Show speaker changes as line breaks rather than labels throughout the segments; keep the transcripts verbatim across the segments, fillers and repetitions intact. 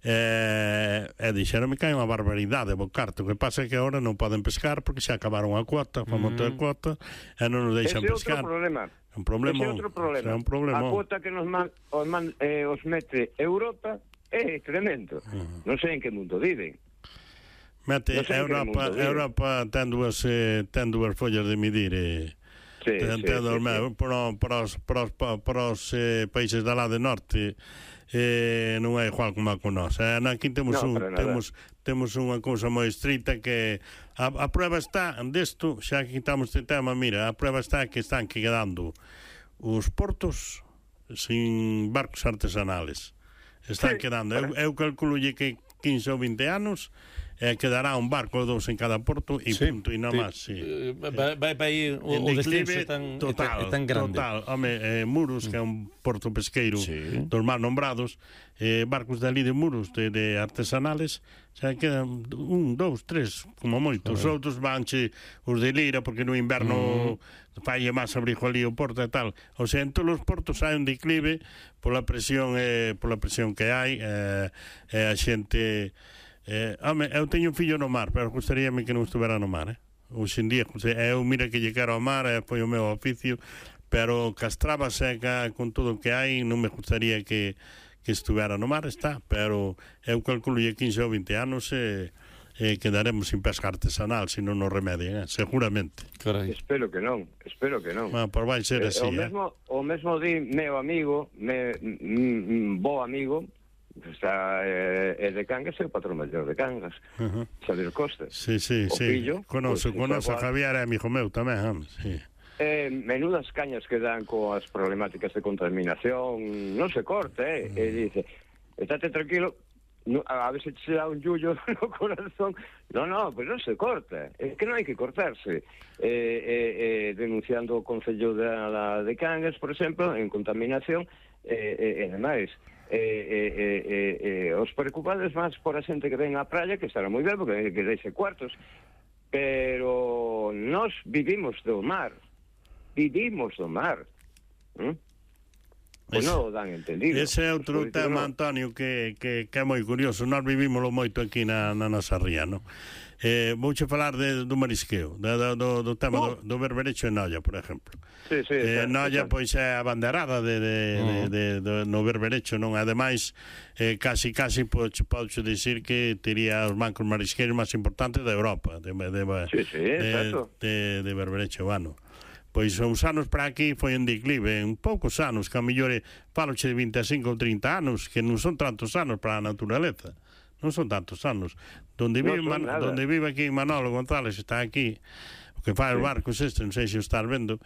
e, e dixeronme que hai unha barbaridade bo carto, que pasa que agora non poden pescar porque xa acabaron a cuota, fa monte de cuota e non nos deixan
ese
pescar.
Ese é outro problema.
Un problema,
ese é outro problema.
É un problema.
A cuota que nos man, os, man, eh, os mete Europa é tremendo. Uh-huh. Non sei en que mundo viven.
Mete, no Europa, Europa ten dúas, eh, ten dúas follas de medir e... Sí, ten, sí, ten sí, sí. Para, para os, para os, para os eh, países da lá de norte eh, non é igual como a con nós. Eh, aquí temos, no, un, temos, temos unha cousa moi estrita que a, a prueba está desto, xa que quitamos este tema, mira, a prueba está que están quedando os portos sin barcos artesanales. Están sí, quedando, eu, eu calculo que quince ou vinte anos eh, quedará un barco ou dous en cada porto e sí, punto, e non máis, sí.
Eh, vai, vai para aí o, o descenso tan,
total,
tan grande.
Total, home, eh, Muros, que é un porto pesqueiro sí. dos máis nombrados, eh, barcos de ali de Muros, de, de artesanales, xa quedan un, dous, tres, como moito. Os outros vanche os de Lira, porque no inverno mm. falle máis abrigo ali o porto e tal. O sea, en todos os portos hai un declive pola presión, eh, pola presión que hai, eh, eh, a xente... Eh, home, eu teño un fillo no mar, pero gustaríame que non estuvera no mar, eh? Hoxe en día, eu mira que lle quero ao mar, eh, foi o meu oficio, pero castraba seca con todo o que hai, non me gustaría que, que estuvera no mar, está, pero eu calculo que quince ou vinte anos e eh, eh, quedaremos sin pesca artesanal se non nos remedien, eh? Seguramente.
Carai. Espero que non, espero que non.
Bueno, por vai ser así,
eh, o mesmo,
eh?
O mesmo di meu amigo, me, mm, bo amigo, está eh, é de Cangas, é o patrón maior de Cangas, uh-huh. Xavier Costa.
Sí, sí,
o
sí.
Fillo,
conoce,
pues,
conoce a Javier, é amigo meu tamén, hombre, sí.
Eh, menudas cañas que dan coas problemáticas de contaminación, non se corte, eh? Uh-huh. E dice, estate tranquilo, no, a veces se dá un yullo no corazón. No, no, pues non se corta, é que non hai que cortarse. Eh, eh, eh, denunciando o Concello de, de Cangas, por exemplo, en contaminación, e eh, eh, demais. Eh, eh, eh, eh, eh, os preocupados máis por a xente que ven á praia, que estará moi ben porque que deixe cuartos, pero nós vivimos do mar, vivimos do mar, ¿eh? Pois non o dan entendido.
Ese é outro pues, tema, no. Antonio, que, que, que é moi curioso. Nós vivimoslo moito aquí na, na nosa ría, non? Eh, vouche falar de, do marisqueo, de, do, do tema oh. do, do berberecho en Noia, por exemplo.
Sí, sí,
eh,
exacto,
Noia,
exacto.
pois, é a banderada de, de, uh -huh. de, de, de, no berberecho, non? Ademais, eh, casi, casi, podes dicir que tería os bancos marisqueiros máis importantes de Europa, de, de,
sí, sí,
de, de, de berberecho vano. Pois uns anos para aquí foi un declive, un poucos anos, que a mellor faloche de vinte e cinco ou trinta anos, que non son tantos anos para a naturaleza, non son tantos anos. Donde vive, no Man, donde vive aquí Manolo González, está aquí, o que fai sí. os barcos este, non sei se o estás vendo,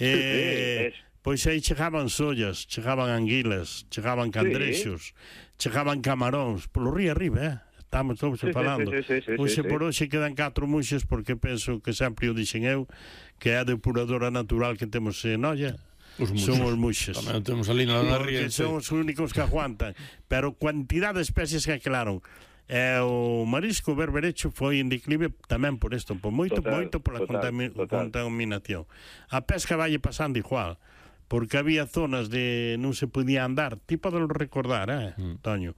eh, sí, sí, pois aí chegaban sollas, chegaban anguilas, chegaban candrexos, sí. chegaban camaróns, polo río arriba, eh? Estamos todos sí, falando. Sí, sí, sí, hoxe sí, por hoxe quedan catro muxes, porque penso que sempre o dixen eu, que é a depuradora natural que temos en Noia. Os muxes. Son os muxes.
Tamén temos ali na ría.
Son os únicos que aguantan. Pero cantidad de especies que aclararon. E o marisco berberecho foi en declive tamén por isto, por moito, total, moito por a contami total. contaminación. A pesca vai pasando igual, porque había zonas de non se podía andar, ti podes recordar, eh, mm. Toño,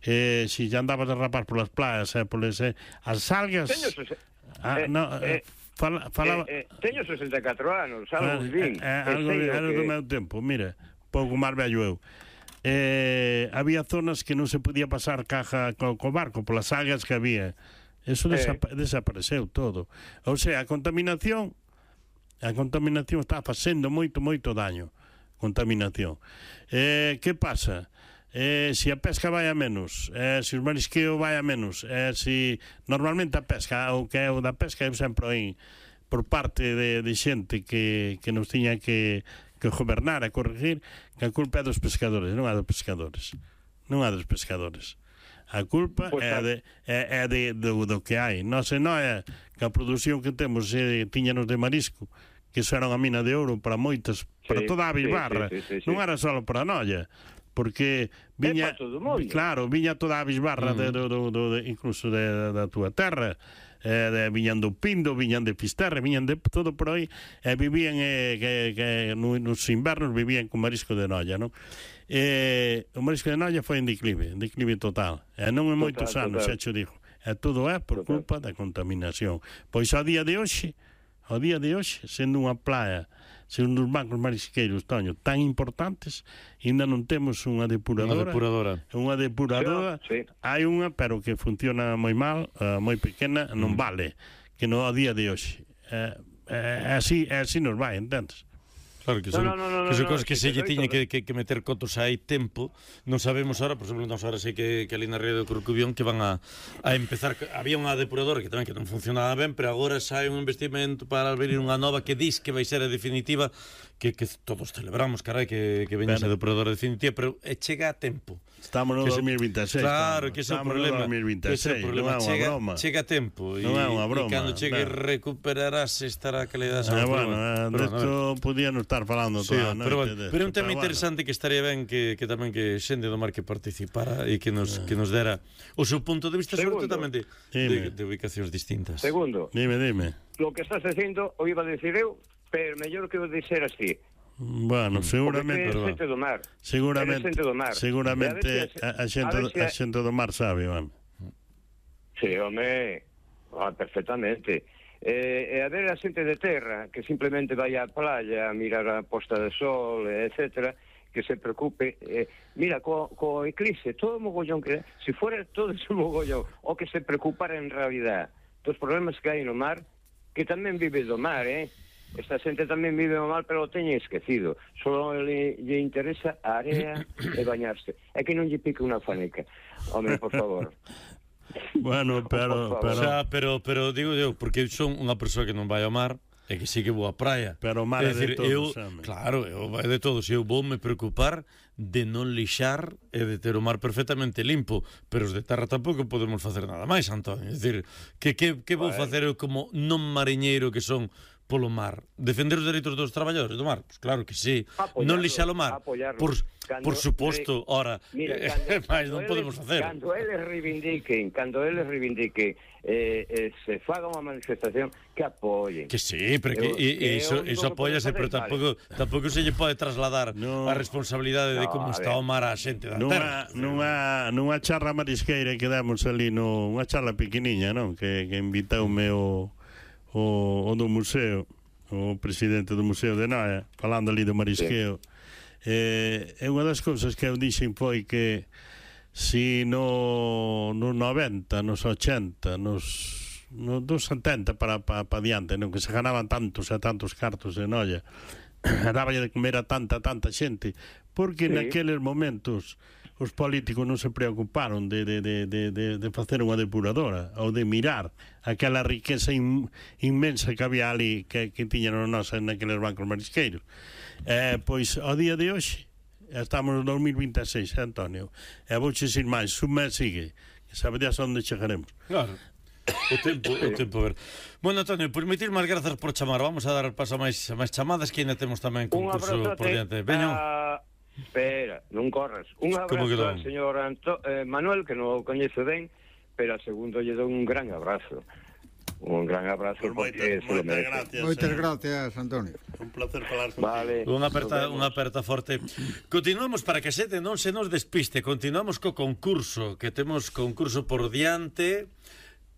eh, si ya andabas a rapar polas playas, eh, poles, eh, as algas...
Teño,
ah,
eh,
no,
eh,
fala, falaba...
eh, eh, teño sesenta e catro anos, algo
eh,
vin.
Eh, eh, algo algo que... do meu tempo, mira, pouco máis vello eu. Eh, había zonas que non se podía pasar caja co, co barco polas algas que había. Eso desapa eh. desapareceu todo. O sea, a contaminación a contaminación está facendo moito, moito daño. Contaminación. Eh, que pasa? Eh, se a pesca vai a menos, eh, se o marisqueo vai a menos, eh, se normalmente a pesca, o que é o da pesca, eu sempre oín por parte de, de xente que, que nos tiña que, que gobernar a corregir, que a culpa é dos pescadores, non é dos pescadores, non é dos pescadores. A culpa pues, é, de, é, é de, do, do que hai. Non se non é que a produción que temos eh, tiñanos de marisco, que eso era unha mina de ouro para moitas, para sí, toda a bisbarra, sí, sí, sí, sí, non era só para Noia, porque viña, claro, viña toda a bisbarra mm. de, do, do, do, de, incluso de, da túa terra, eh, viñan do Pindo, viñan de Fisterra, viñan de todo por aí, e vivían eh, que, que nos invernos vivían con marisco de Noia, non? Eh, o marisco de Noia foi en declive, en declive total, e non en moitos anos, xa te digo, e todo é por culpa da contaminación. Pois ao día de hoxe, ao día de hoxe, sendo unha playa, sendo uns bancos marisqueiros, Toño, tan importantes, ainda non temos unha depuradora.
Unha depuradora.
Unha depuradora,
sí.
Hai unha, pero que funciona moi mal, uh, moi pequena, non vale, que no ao día de hoxe. É uh, uh, así, así nos vai, entendes?
Claro, que son,
no, no, no,
que son
no,
cosas
no,
que se lle
que
tiña que, que, que meter cotos hai tempo. Non sabemos ahora, por exemplo, non ahora sei que, que ali na río de Corcubión que van a, a empezar, había unha depuradora que tamén que non funcionaba ben, pero agora sai un investimento para abrir unha nova que dis que vai ser a definitiva, que, que todos celebramos, carai, que, que veña esa depuradora definitiva, pero eh, chega a tempo.
Estamos no dos mil veintiséis.
Claro, que ese é o problema. Que ese é o problema. Chega, chega a tempo.
Non é unha broma.
E cando chegue recuperarás estará a calidad.
Ah, bueno, eh, desto podíamos estar falando toda a noite.
Pero, bueno, pero é un tema interesante que estaría ben que, que tamén que xente do mar que participara e que nos, que nos dera o seu punto de vista, sobre todo tamén de, de, de ubicacións distintas.
Segundo.
Dime, dime.
Lo que estás dicindo, o iba a decir eu, pero mellor que o dixer así.
Bueno, seguramente
é xente do mar.
Seguramente,
xente do mar.
seguramente a, a, xente, a, a xente do mar sabe, Iván.
Sí, home, ah, perfectamente. Eh, e a ver a xente de terra que simplemente vai á playa a mirar a posta de sol, etcétera, que se preocupe. Eh, mira, co, co eclipse, todo o mogollón que... Se fuera todo ese mogollón, o que se preocupara en realidad dos problemas que hai no mar, que tamén vive do mar, eh? Esta xente tamén vive mal, pero o teñen esquecido. Só lle, lle interesa a area e bañarse. É que non lle pique unha faneca. Home, por favor.
Bueno, pero...
Pero... O sea, pero, pero digo eu, porque son unha persoa que non vai ao mar, e que sí que vou á praia.
Pero o mar é de todos,
eu,
xame.
Claro, eu vai de todos. Eu vou me preocupar de non lixar e de ter o mar perfectamente limpo, pero os de terra tampouco podemos facer nada máis, Antonio. É dicir, que, que, que vou facer eu como non mariñeiro que son polo mar? Defender os dereitos dos traballadores do mar? Pois claro que sí.
Apoyarlo,
non lixar o mar? Por, por suposto,
re...
ora,
Mira,
eh, máis non
eles,
podemos facer.
Cando eles reivindiquen, cando eles reivindiquen eh, eh, se faga unha manifestación, que apoyen.
Que sí, pero que, que, que iso, iso apóyase, pero tampouco, vale. tampouco se lle pode trasladar no, a responsabilidade no, de como está o mar a xente da terra.
Nunha, nunha charla marisqueira que damos ali, no, unha charla pequeniña, non? Que, que invitoume o... O, o do museo, o presidente do Museo de Noia, falando ali do marisqueo. Sí. Eh, e unha das cousas que eu dixen foi que si no, no noventa, nos ochenta, nos, nos dos setenta para, para, para diante, non? Que se ganaban tantos e tantos cartos de Noia, daballe de comer a tanta, tanta xente, porque sí. naqueles momentos os políticos non se preocuparon de, de, de, de, de, de facer unha depuradora ou de mirar aquela riqueza in, inmensa que había ali que, que tiñan os nosos naqueles bancos marisqueiros. Eh, pois, ao día de hoxe, estamos no dos mil veintiséis, eh, Antonio, e vou dicir máis, un mes sigue, que saberías onde chegaremos.
Claro. O tempo, o tempo, a ver. Bueno, Antonio, pois moitísimas grazas por chamar. Vamos a dar paso a máis, a máis chamadas, que ainda temos tamén concurso por diante. Veño.
A... Espera, non corras. Un abrazo ao señor Anto... eh, Manuel, que non o coñece ben, pero a segundo lle dou un gran abrazo. Un gran abrazo,
pues
porque se lo merece.
Moitas gracias, Antonio.
Un placer falar contigo.
Vale.
Unha aperta, unha aperta forte. Continuamos para que a xente non se nos despiste. Continuamos co concurso, que temos concurso por diante,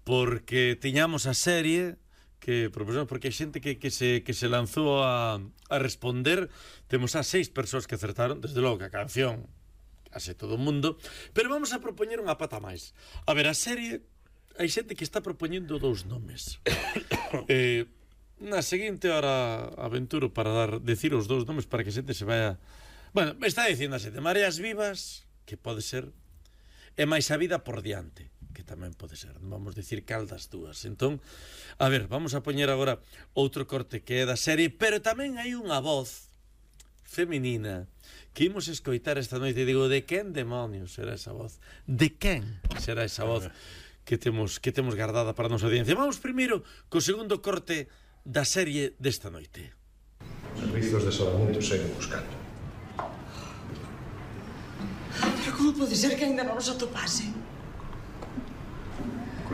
porque tiñamos a serie que propuxemos, porque hai xente que, que, se, que se lanzou a, a responder. Temos a seis persoas que acertaron, desde logo que a canción case todo o mundo, pero vamos a propoñer unha pata máis. A ver, a serie, hai xente que está propoñendo dous nomes. eh, na seguinte hora aventuro para dar decir os dous nomes para que a xente se vaya... Bueno, me está dicindo a xente Mareas Vivas, que pode ser, e máis a vida por diante, que tamén pode ser, non vamos dicir cal das dúas. Entón, a ver, vamos a poñer agora outro corte que é da serie, pero tamén hai unha voz feminina que imos escoitar esta noite. Digo, de quen demonios será esa voz? De quen será esa voz que temos que temos guardada para a nosa audiencia? Vamos primeiro co segundo corte da serie desta noite.
Servizos de salvamento seguen buscando.
Pero como pode ser que ainda non nos atopase?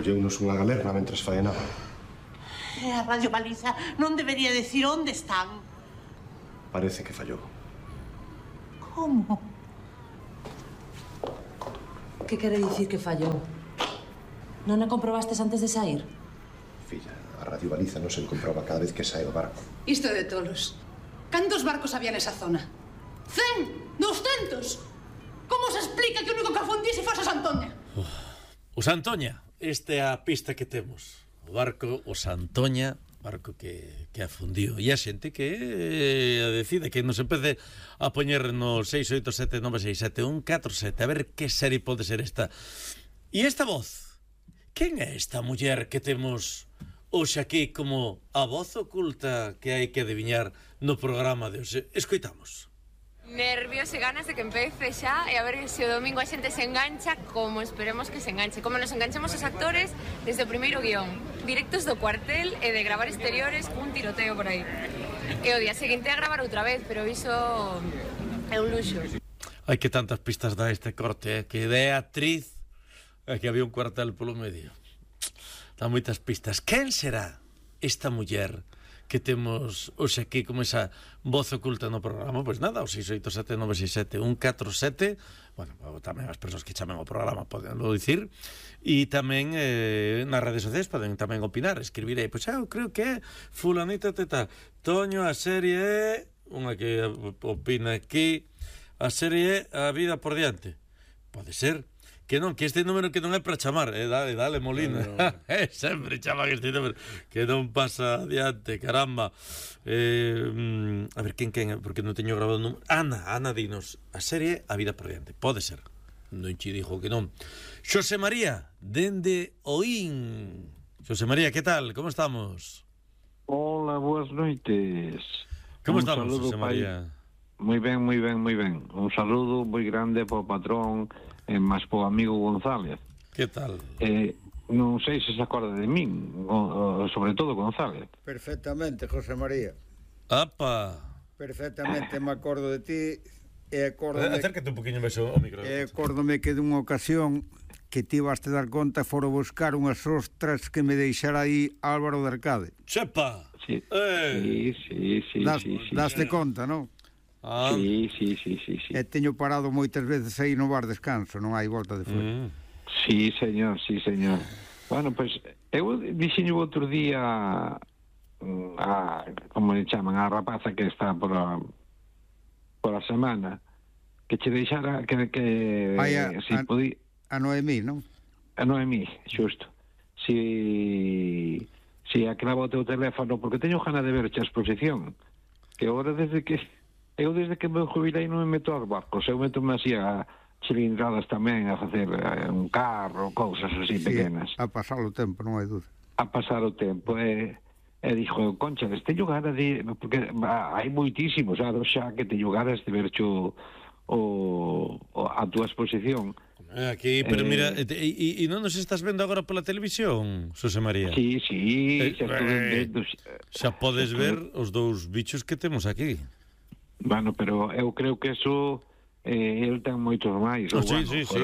Colleunos unha galerna mentres faenaba.
E a Radio Baliza non debería decir onde están.
Parece que fallou.
Como?
Que quere dicir que fallou? Non a comprobastes antes de sair?
Filla, a Radio Baliza non se comproba cada vez que sae o barco.
Isto é de tolos. Cantos barcos había nesa zona? Cen? Doscentos? Como se explica que o único que afundise fose Santoña?
O Santoña, esta é a pista que temos. O barco, o Santoña, barco que, que afundiu. E a xente que eh, decide que nos empece a poñer no seis oito sete nove seis sete un catro sete a ver que serie pode ser esta. E esta voz? Quen é esta muller que temos hoxe aquí como a voz oculta que hai que adiviñar no programa de hoxe? Escoitamos.
Nervios e ganas de que empece xa e a ver se o domingo a xente se engancha como esperemos que se enganche, como nos enganchemos os actores desde o primeiro guión, directos do cuartel e de gravar exteriores cun tiroteo por aí. E o día seguinte a gravar outra vez, pero iso é un luxo.
Ai, que tantas pistas dá este corte, eh? Que é actriz e que había un cuartel polo medio. Dá moitas pistas. Quen será esta muller que temos hoxe aquí como esa voz oculta no programa? Pois nada, o seis oito sete nove seis sete un catro sete. Bueno, tamén as persoas que chamen ao programa poden dicir. E tamén eh, nas redes sociais poden tamén opinar, escribir aí. Pois eu creo que é fulanita teta. Toño, a serie é... Unha que opina aquí. A serie é A vida por diante. Pode ser. Que non, que este número que non é para chamar, eh, dale, dale, Molina. No, no. eh, sempre chaman este número, que non pasa adiante, caramba. Eh, a ver, quen, quen, porque non teño grabado o número. Ana, Ana, dinos, a serie A vida por diante, pode ser. Non che dixo que non. Xosé María, dende Oín. Xosé María, que tal, como estamos?
Hola, boas noites.
Como Un estamos, Xosé María?
Moi ben, moi ben, moi ben. Un saludo moi grande para o patrón e máis po amigo González.
Que tal?
Eh, non sei se se acorda de min, o, o, sobre todo González.
Perfectamente, José María.
Apa.
Perfectamente me acordo de ti e acórdome...
Acércate un poquinho máis ao micro.
E acórdome que dunha ocasión que ti vas te dar conta foro buscar unhas ostras que me deixara aí Álvaro de Arcade.
Chepa!
Sí,
eh.
sí, sí, sí,
das,
sí, sí.
Daste conta, non?
Ah. Sí, sí, sí, sí, sí.
E teño parado moitas veces aí no bar descanso, non hai volta de fora.
Mm. Sí, señor, sí, señor. Bueno, pois, pues, eu dixeño outro día a, como le chaman, a rapaza que está por a, por a semana, que che deixara que, que
Vai a,
si
a,
podía...
a Noemí, non?
A Noemí, xusto. Si, si aclava o teu teléfono, porque teño gana de verche a exposición, que agora desde que... Eu desde que me jubilei non me meto aos barcos, eu meto-me así a cilindradas tamén, a facer eh, un carro, cousas así sí, pequenas.
A pasar o tempo, non hai dúda.
A pasar o tempo, e, e dixo, Concha, teño ganas de... Porque ah, hai moitísimos anos xa que teño ganas de ver o, o, a túa exposición.
Aquí, pero eh, mira, e, e, e non nos estás vendo agora pola televisión, Xosé María?
Sí, sí,
eh,
xa,
eh, vendo, xa podes ver os dous bichos que temos aquí.
Bueno, pero eu creo que eso eh, el ten moitos máis,
oh,
ou,
sí,
bueno,
sí, sí.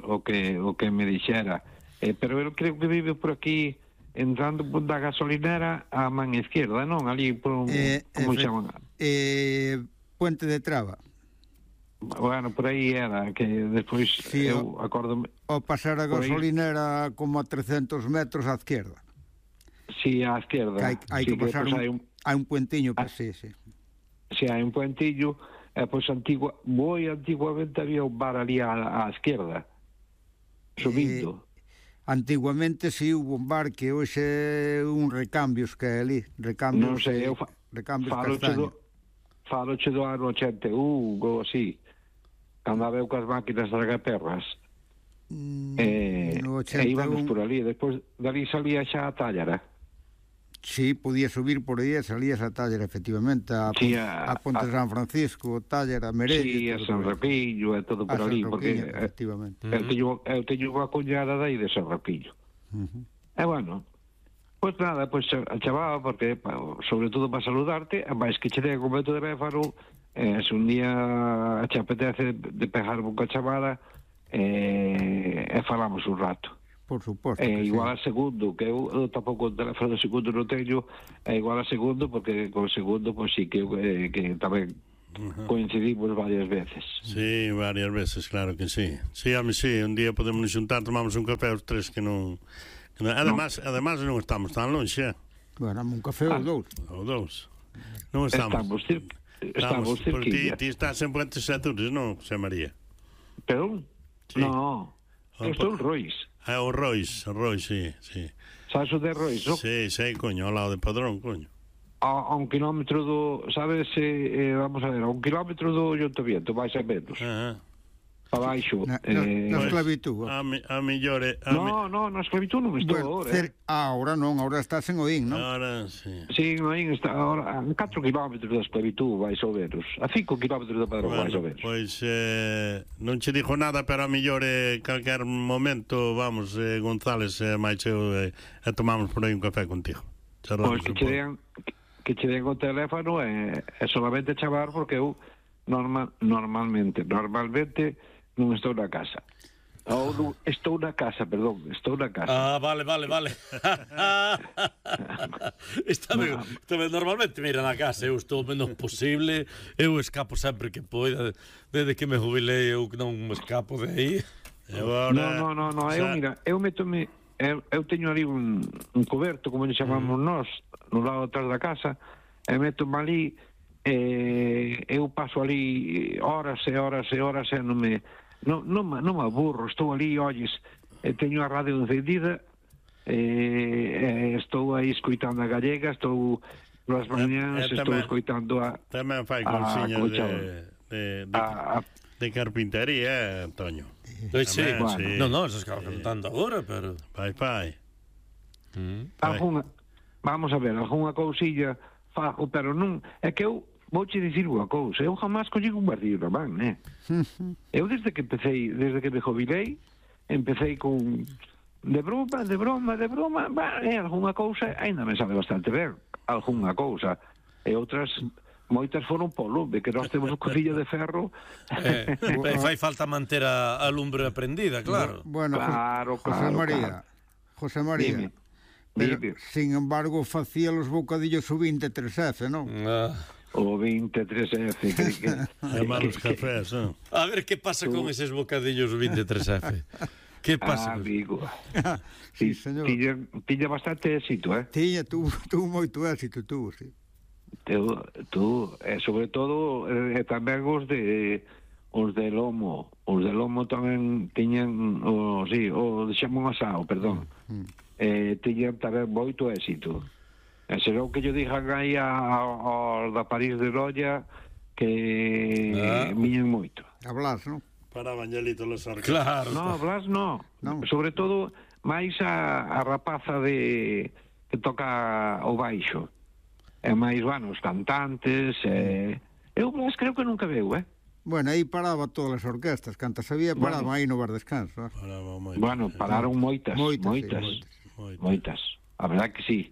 o que o que me dixera. Eh, pero eu creo que vive por aquí entrando da gasolinera a man izquierda, non? Ali por un,
eh,
como se chama?
Eh, Puente de Traba.
Bueno, por aí era, que despois sí, eu acórdome...
O pasar a gasolinera como a trescentos metros á izquierda.
Sí, á izquierda.
Que hai, hai sí, que pasar que un, hai un... hai un puentiño, ah, sí, sí.
Si hai un puentillo, e pois antigua, moi antiguamente había un bar ali á, á esquerda, subindo.
Eh, antiguamente si sí, hubo un bar que hoxe un recambios que é ali, recambios,
non sei, eu fa,
recambios
castaño. Faloche do ano ochenta e un, ou así, cando habeu coas máquinas das agaperras. Mm, eh, e íbamos por ali, despois dali salía xa a Tállara.
Sí, podía subir por aí e salía esa Tállara, efectivamente, a,
sí, a,
a Ponte a, San Francisco, Tállara, Merelle...
Sí, a San Rapillo e todo por ali, porque
efectivamente.
eu teño, eu teño unha cuñada dai de San Rapillo. Uh -huh. E bueno, pois pues nada, pois pues, a chamaba, porque, sobre todo para saludarte, máis que che den o meu teléfono, eh, se un día che apetece de pegar unha chamada, eh, e falamos un rato.
Por suposto
é
que
igual
sí.
a segundo, que eu, eu tampouco o teléfono do segundo non teño, é igual a segundo, porque con o segundo, pois sí, que, eh, que tamén uh-huh. coincidimos varias veces.
Sí, varias veces, claro que sí. Sí, a mí sí, un día podemos xuntar, tomamos un café os tres que non... Que non además, no. además non estamos tan longe, eh?
Bueno, un café ah. ou dous.
Ou dous. Non estamos.
Estamos, cir... estamos, estamos
cerquilla. Ti, ti estás en Puentes Azures, non, José María?
Pero? Sí. No, eu estou en Rois.
Ah, o Rois, o Rois, sí, sí.
Sabes o de Rois, non?
Sí, sei, coño, ao lado de Padrón, coño.
A, a un kilómetro do, sabes, eh, vamos a ver, a un kilómetro do Ayuntamiento, vais a menos.
Ajá.
Para baixo.
Na,
eh,
na esclavitud.
A, mi, a millore... A
no,
mi...
no, na esclavitud non estou
bueno,
agora.
Cer...
Eh.
Ah, ahora non, ahora estás en Oín, non?
Ahora, sí.
Sí, en Oín está ahora a catro kilómetros da esclavitud, vais ao menos. A cinco kilómetros do Padrón,
bueno,
vais ao menos.
Pois eh, non che dixo nada, pero a millore calquer momento, vamos, eh, González, eh, máis eu, eh, e tomamos por aí un café contigo.
Pois que che den, que che den o teléfono é, é solamente chamar, porque eu normal, normalmente, normalmente non estou na casa. Ou non, estou na casa, perdón, estou na casa.
Ah, vale, vale, vale. Está ben, está ben, normalmente, mira, na casa, eu estou o menos posible, eu escapo sempre que poida, desde que me jubilei eu non me escapo de aí.
Agora,
no, no, no, no, eu, mira, eu metome, eu, eu teño ali un, un coberto, como lle chamamos mm. nós, no lado atrás da casa, e metome ali, e eu paso ali horas e horas e horas e non me... Non, non, non me aburro, estou ali, olles, eh, teño a radio encendida, eh, eh, estou aí escoitando a gallega, estou nas mañáns, estou tamén, escoitando a...
Tamén fai cousiñas de, de, de, a, a, de carpintería, eh, Antonio.
Pois sí,
tamén,
bueno.
sí.
Non, non, se escapa cantando agora, pero...
Fai, fai.
Mm. Alguna, vamos a ver, algunha cousilla fago, pero non... É que eu... Vouche dicir unha cousa, eu jamás collí un martillo na man, né? Eu desde que empecé, desde que me jubilei, empecé con de broma, de broma, de broma, bah, é algunha cousa, ainda me sabe bastante ben, algunha cousa, e outras moitas foron polo lume, que nós temos un cocillo de ferro.
Eh, fai falta manter a, a lumbre aprendida, claro.
Bueno,
claro,
José
claro,
María,
claro.
José María.
Dime.
Pero,
Dime.
sin embargo, facía los bocadillos o veintitrés F, non?
Ah.
O veintitrés F. Que, que,
é malos cafés, non?
A ver, que pasa con eses bocadillos veintitrés F? Que pasa?
Ah, amigo.
Sí, señor.
Tiña, tiña bastante éxito, eh?
Tiña, tuvo, tuvo moito éxito, tuvo, sí.
Tú, tú eh, sobre todo, eh, tamén os de os de lomo. Os de lomo tamén tiñan, o, sí, o de xamón asado, perdón. Mm. Eh, tiñan tamén moito éxito. E será que yo dixan aí ao da París de Rolla que ah. miñen moito.
A Blas, non?
Para Bañelito los arcos.
Claro.
No, Blas no.
no.
Sobre todo, máis a, a rapaza de que toca o baixo. E máis, bueno, os cantantes. E... Eu Blas creo que nunca veu, eh?
Bueno, aí paraba todas as orquestas. Cantas había, paraban bueno, aí no bar descanso. ¿eh?
Paraba moitas.
Bueno, pararon moitas. Moitas, moitas.
Sí,
moitas. moitas. A verdad que sí.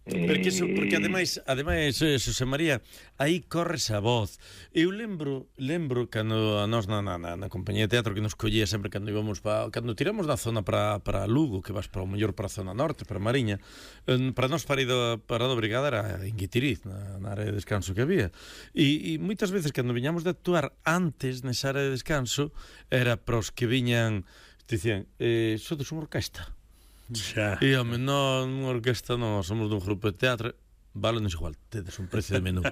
Porque, eso, porque ademais, ademais eh, Xosé María, aí corres a voz. Eu lembro, lembro cando a nós na, na, na compañía de teatro que nos collía sempre cando íbamos pa, cando tiramos da zona para para Lugo, que vas para o mellor para a zona norte, para Mariña, eh, para nós para ido para a brigada era en Guitiriz, na, na área de descanso que había. E, e moitas veces cando viñamos de actuar antes nesa área de descanso, era para os que viñan, dicían, eh, sodes unha orquesta.
Xa.
E, home, non unha orquesta non, somos dun grupo de teatro. Vale, non é igual, tedes un precio de menú.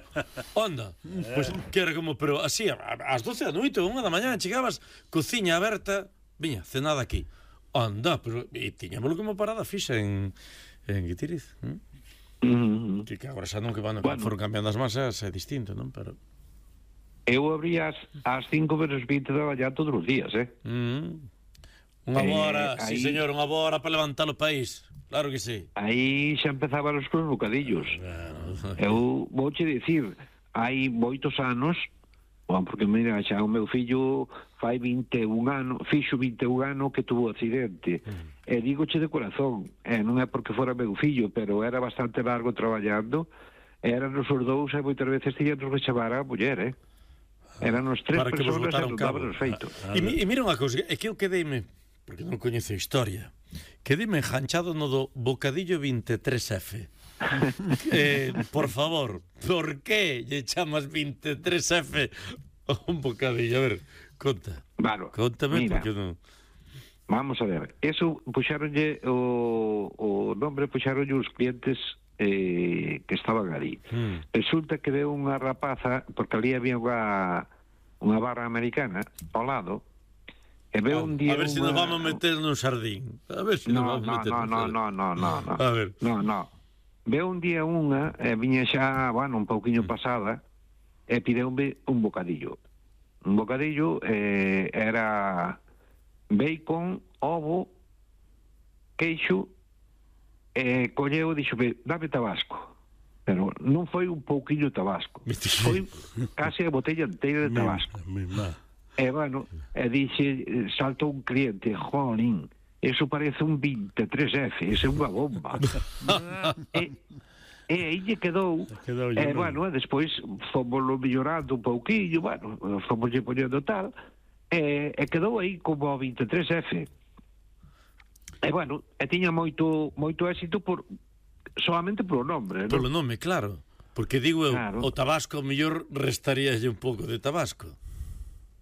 Onda, pois pues, que era como, pero así, ás doce da noite, unha da mañá, chegabas, cociña aberta, viña, cenada aquí. Onda, pero, e tiñámoslo como parada fixa en, en Guitiriz. ¿eh?
Mm-hmm.
Que, que agora xa non que van,
bueno,
foron cambiando as masas, é distinto, non? Pero...
Eu abría ás cinco menos vinte da mañá todos os días, eh?
Mm. Unha hora, eh, sí,
aí,
señor, unha hora para levantar o país. Claro que sí.
Aí xa empezaban os cos bocadillos. Claro. Eu vouche dicir, hai moitos anos, bueno, porque mira, xa o meu fillo fai vinte e un anos, fixo vinte e un anos que tuvo accidente. Mm. E dígoche de corazón, e non é porque fora meu fillo, pero era bastante largo traballando, eran os dous e moitas veces tiñan que chamar a muller, eh? Eran os tres
para
personas
que vos botaron cabo.
Feito.
Ah, ah, e, e mira unha cousa, é que eu quedeime, porque non coñezo a historia, quedime enganchado no do bocadillo veintitrés F. eh, por favor, por que lle chamas veintitrés F a un bocadillo? A ver, conta.
Claro,
Contame,
mira,
porque non...
Vamos a ver, eso puxaronlle o, o nombre puxaronlle os clientes eh, que estaban ali.
Mm.
Resulta que veo unha rapaza, porque ali había unha, unha barra americana ao lado, e veo
a,
un día
a ver se si
unha...
nos vamos a meter nun sardín. A ver se si
no,
nos vamos
no,
a meter
no,
nun
no,
sardín.
no, no, no, no.
A ver.
No, no. Veo un día unha, e viña xa, bueno, un pouquiño pasada, e pideume un bocadillo. Un bocadillo eh, era bacon, ovo, queixo, e colleu e dixo, dame tabasco. Pero non foi un pouquiño tabasco. Foi case a botella inteira de tabasco. E, bueno, e dixe, saltou un cliente, jolín, eso parece un veintitrés F, eso é unha bomba. e, e aí lle quedou,
quedou
e, bueno, e despois fomos mellorando un pouquillo, bueno, fomos lle poñendo tal, e, e quedou aí como veintitrés F. E, bueno, e tiña moito moito éxito por solamente polo nombre, non?
Polo nome, claro. Porque digo eu,
Claro.
o tabasco mellor restaríalle un pouco de tabasco.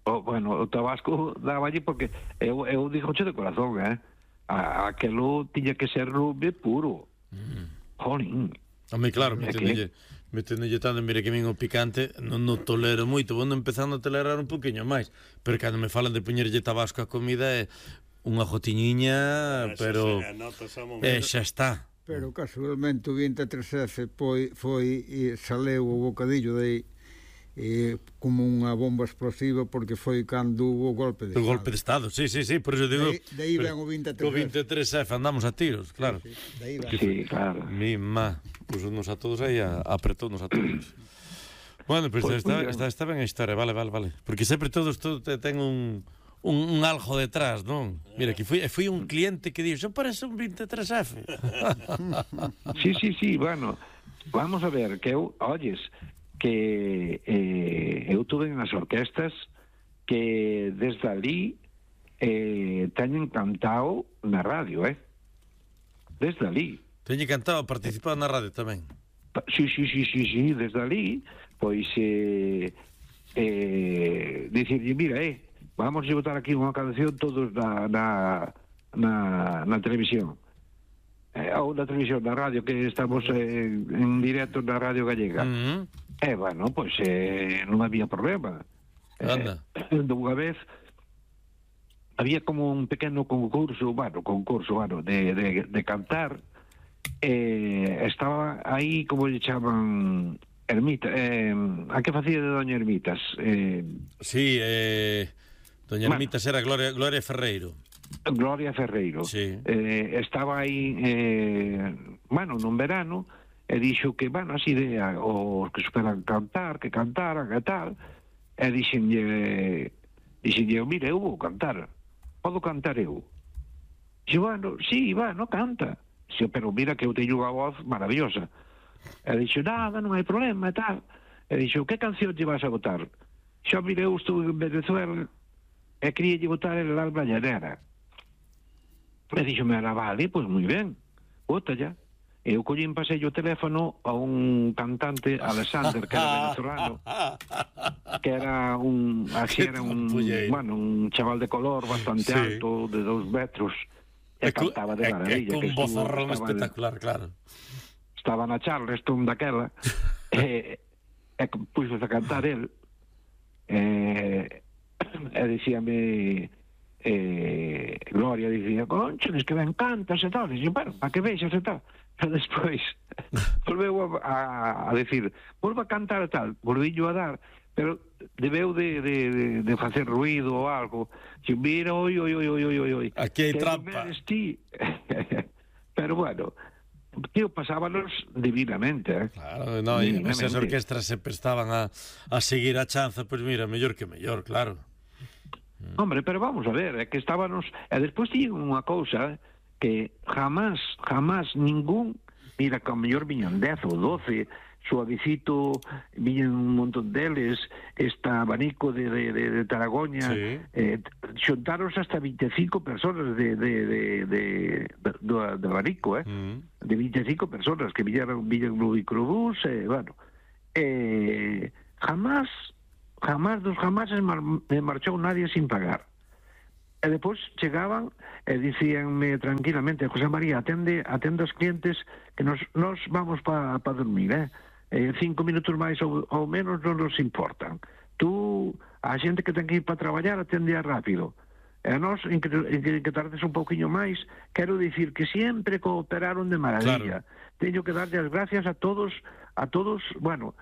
O, bueno, o tabasco dáballe porque eu, eu dixoche de corazón, eh? A, aquelo tiña que ser lume puro. Mm. Jolín.
Home, claro,
É
meténdelle, meténdelle tanto, mire que min o picante non no tolero moito, vou empezando a tolerar un poquinho máis, pero cando me falan de poñerlle tabasco á comida é unha gotiñiña, pero eh, xa está.
Pero casualmente o veintitrés F foi, foi e saleu o bocadillo de eh, como unha bomba explosiva porque foi cando hubo o golpe de
O
Estado.
golpe de Estado, sí, sí, sí, por eso digo...
De aí ven o veintitrés F.
O veintitrés F, andamos a tiros, claro.
Sí, sí, de aí ven.
Sí, claro.
Mi má, pusonos a todos aí, a, apretónos a todos. Bueno, pois pues,
Pues,
está,
mira.
está, está ben a historia, vale, vale, vale. Porque sempre todos todo te ten un... Un, un algo detrás, non? Mira, que foi, foi un cliente que dixo, parece un veintitrés F.
Sí, sí, sí, bueno, vamos a ver, que eu, olles, que eh, eu tuve nas orquestas que desde ali eh, teñen cantado na radio, eh? Desde ali.
Teñe cantado, participado na radio tamén.
Sí, sí, sí, sí, sí, desde ali, pois, eh, eh, dicirlle, mira, eh, vamos a botar aquí unha canción todos na, na, na, na televisión. Eh, ou na televisión, na radio, que estamos eh, en directo na Radio Gallega.
Mm-hmm.
E, bueno, pois eh, non había problema.
Anda.
Eh, dunha vez había como un pequeno concurso, bueno, concurso, bueno, de, de, de cantar, eh, estaba aí, como lle chaman, Ermita, eh, a que facía de Doña Ermitas? Eh,
Sí, eh, Doña
Bueno.
Ermitas era Gloria, Gloria Ferreiro.
Gloria Ferreiro.
Sí.
Eh, estaba aí, eh, bueno, nun verano, e dixo que, bueno, así de a- os que superan cantar, que cantaran e tal, e dixenlle, dixenlle, mire, eu vou cantar, podo cantar eu? Dixo, bueno, sí, bueno, canta. Dixo, pero mira que eu teño unha voz maravillosa. E dixo, nada, non hai problema e tal. E dixo, que canción lle vas a botar? Xo, mire, eu estou en Venezuela e quería lle botar el alma llanera. E dixo, me era, vale, pois moi ben, bota ya. E eu collín, pasei o teléfono a un cantante, Alexander, que era venezolano, que era un, así era un, bueno, un chaval de color bastante
Sí.
alto, de dos metros, e,
E cu-
cantaba de
e-
maravilla.
e cun
que estuvo-
vozarrón
estaba-
espectacular, claro.
Estaba na Charleston daquela, e, e puxose a cantar el, e, e dicíame, eh, Gloria dicía, conchones, que ben cantas e tal. E dixo, bueno, para que vexas e tal. E despois volveu a, a, a decir, volva a cantar e tal, volvillo a dar, pero debeu de, de, de, de facer ruido ou algo. Dixo, mira, oi, oi, oi, oi, oi, oi.
Aquí hai
que
trampa.
non eres ti. Pero bueno, tío, pasábanos divinamente, eh?
Claro, no, e
Divinamente.
esas orquestras se prestaban a, a seguir a chanza, pois pues mira, mellor que mellor, claro.
Hombre, pero vamos a ver, é que estábamos... E despois tiñen unha cousa que jamás, jamás ningún... Mira, que ao mellor viñan dez ou doce, Suavecito, viñan un montón deles, esta abanico de, de, de, de Taragoña,
Sí.
eh, xuntaros hasta veinticinco personas de, de, de, de, de, de Barico, eh? Mm. De vinte e cinco personas que viñeron, viñeron no microbús, e, eh, bueno, eh, jamás, jamás dos jamás mar, me marchou nadie sin pagar. E depois chegaban e dicíanme tranquilamente, José María, atende, atende aos clientes que nos, nos vamos para pa dormir, eh? eh? Cinco minutos máis ou, ou menos non nos importan. Tú, a xente que ten que ir para traballar, atende rápido. E a nós, en que, en que, en que tardes un pouquiño máis, quero dicir que sempre cooperaron de maravilla. Claro. Teño que darlle as gracias a todos, a todos, bueno,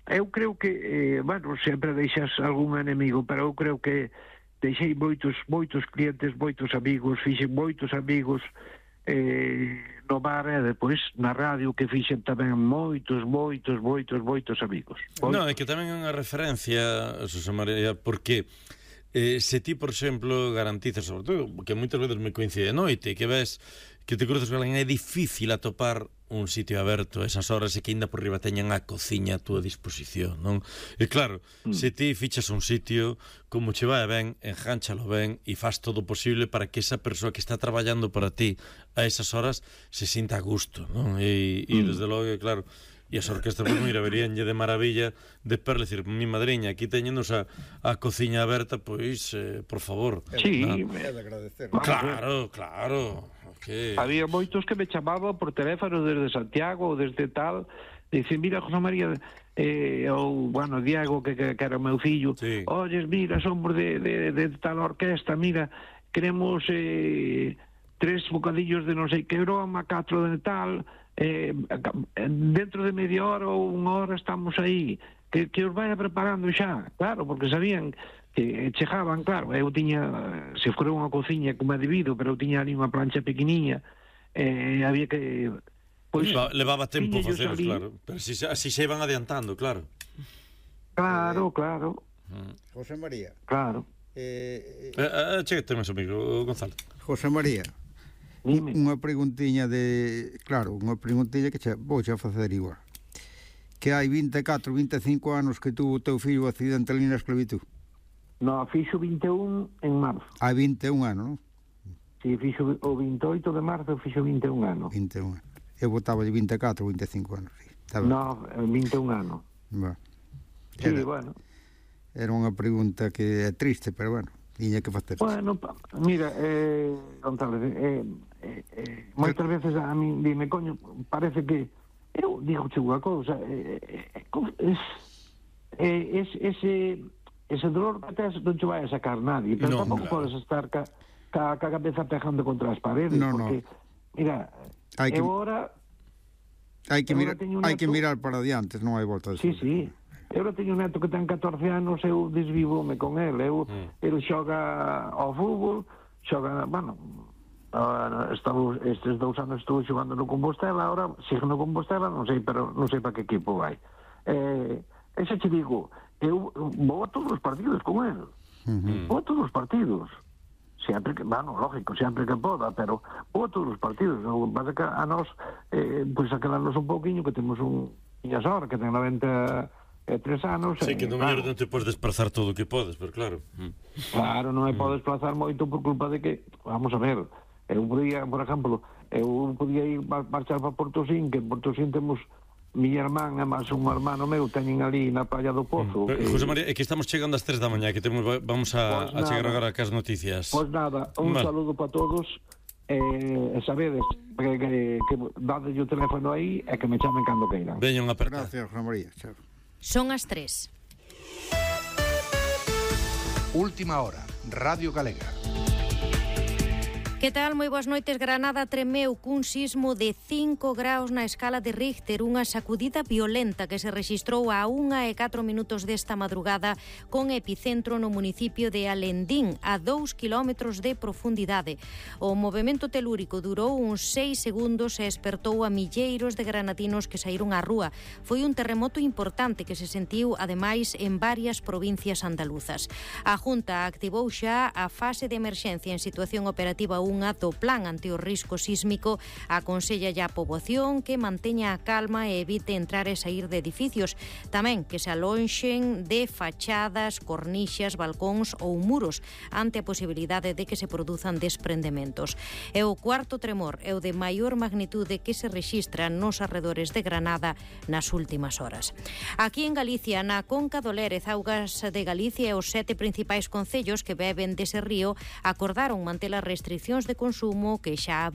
eu creo que, eh, bueno, sempre deixas algún enemigo, pero eu creo que deixei moitos, moitos clientes, moitos amigos, fixen moitos amigos eh, no bar e depois na radio que fixen tamén moitos, moitos, moitos, moitos amigos. Moitos.
Non, é que tamén é unha referencia, José María, porque Eh, se ti, por exemplo, garantizas, sobre todo, que moitas veces me coincide de noite, que ves que te cruzas con alguén, é difícil atopar un sitio aberto a esas horas e que ainda por riba teñan a cociña a túa disposición, non? E claro, mm. se ti fichas un sitio, como che vai ben, enjánchalo ben e faz todo o posible para que esa persoa que está traballando para ti a esas horas se sinta a gusto, non? E, e mm. desde logo, claro, e as orquestas, pues, mira, veríanlle de maravilla de perle, decir, mi madriña, aquí teñenos a, a cociña aberta, pois, eh, por favor.
Sí,
¿no?
me ha de agradecer.
Claro, claro. Okay.
Había moitos que me chamaban por teléfono desde Santiago ou desde tal, dicen, mira, José María, eh, ou, bueno, Diego, que, que, que era o meu fillo, sí. Oyes, mira, somos de, de, de tal orquesta, mira, queremos eh, tres bocadillos de non sei que broma, catro de tal... Eh, dentro de media hora ou unha hora estamos aí, que, que os vaya preparando xa, claro, porque sabían que chegaban, claro, eu tiña, se fora unha cociña como é debido, pero eu tiña ali unha plancha pequeniña, eh, había que
pois, levaba tempo faceros, claro, pero así, así se iban adiantando, claro.
Claro, claro.
Mm. José María.
Claro.
Eh,
eh, eh, Cheguete máis amigo, Gonzalo.
José María. Dime. Unha preguntiña de... Claro, unha preguntiña que che vou xa facer igual. Que hai vinte e catro, vinte e cinco anos que tuvo o teu fillo accidental na esclavitud.
No, fixo vinte e un en marzo.
Hai vinte e un anos, non?
Si, fixo o vinte e oito de marzo, fixo vinte e un anos.
vinte e un anos. Eu botaba de vinte e catro, vinte e cinco anos. Sí.
No, vinte e un anos.
Bueno.
Sí,
era,
bueno.
Era unha pregunta que é triste, pero bueno, tiña que facer.
Bueno, mira, eh, González, eh, eh, eh, moitas veces a mí dime, coño, parece que eu digo che unha cousa, eh, eh, es, eh, es, ese, ese dolor que tes non te vai a sacar nadie, pero no, tampouco claro. Podes estar ca, ca, ca cabeza pegando contra as paredes, no, porque, no. Mira, hai que, eu ahora...
Hai que, mirar, hai que mirar para diante, non hai volta de
sí, sí. Eu teño un neto que ten catorce anos, eu desvívome con ele, eu, mm. ele xoga ao fútbol, xoga, bueno, uh, estamos, estes dous anos estuve xogando no Compostela, ahora sigo no Compostela, non sei, pero non sei para que equipo vai. Eh, ese che digo, eu vou a todos os partidos con ele, mm-hmm. vou a todos os partidos, sempre que, bueno, lógico, sempre que poda, pero vou a todos os partidos, o que pasa que a nós, eh, pois aquelarnos un pouquiño, que temos un niñas ahora, que ten noventa e tres anos.
Sí, que non mellor non te podes desplazar todo o que podes, pero claro.
Claro, non me podes desplazar moito por culpa de que, vamos a ver, eu podía, por exemplo, eu podía ir marchar para Portosín, que en Portosín temos mi irmán e máis un hermano meu teñen ali na Praia do Pozo.
Mm. Que... José María, é que estamos chegando ás tres da mañá, que temos, vamos a, pues a chegar agora cas noticias.
Pois pues nada, un vale. Saludo para todos. E eh, sabedes que, que, que dade o teléfono aí e que me chamen cando queiran.
Veña unha aperta.
Gracias, José María. Chao.
Son as tres.
Última hora, Radio Galega.
Que tal? Moi boas noites. Granada tremeu cun sismo de cinco graus na escala de Richter, unha sacudida violenta que se rexistrou a unha e catro minutos desta madrugada con epicentro no municipio de Alendín, a dous kilómetros de profundidade. O movimento telúrico durou uns seis segundos e espertou a milleiros de granadinos que saíron á rúa. Foi un terremoto importante que se sentiu, ademais, en varias provincias andaluzas. A Junta activou xa a fase de emerxencia en situación operativa un unha do Plan ante o risco sísmico, aconsella a poboación que manteña a calma e evite entrar e sair de edificios. Tamén que se alonxen de fachadas, cornixas, balcóns ou muros ante a posibilidade de que se produzan desprendementos. E o cuarto tremor é o de maior magnitude que se rexistra nos arredores de Granada nas últimas horas. Aquí en Galicia, na Conca do Lérez, Augas de Galicia e os sete principais concellos que beben dese río acordaron manter as restriccións de consumo que xa había